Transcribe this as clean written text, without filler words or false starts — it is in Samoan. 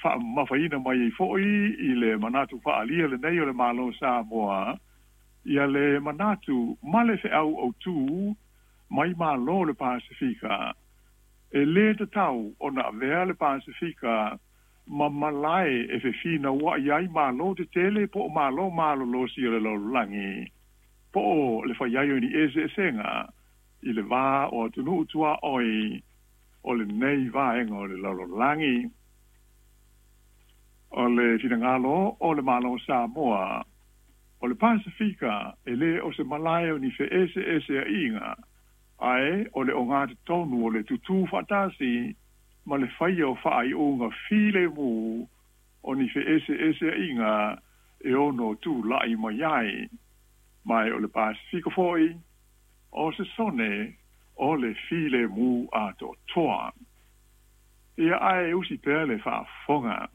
faamamafaina mai ai foʻi i le manatu faaalia lenei o le Malo o Samoa ia le manatu ma le feʻau autū mai malo o le Pasefika e lē tatau ona avea le Pasefika ma malae e fefinauaʻi ai malo tetele po o malo malolosi o le lalolagi po o le fai ai o ni eseesega i le va o atunuu tuaʻoi o lenei vaega o le lalolagi. O le finagalo o le Malo o Samoa, o le Pasefika e lē o se malae o ni feʻeseʻeseaʻiga, ae o le ogatotonu o le tutū faatasi ma le faia o faaiuga filemu o ni feʻeseʻeseaʻiga e ono tulaʻi mai ai. Ma o le Pasefika foʻi, o se sone o le filemu atoatoa. Ia ae usi pea le faafofoga.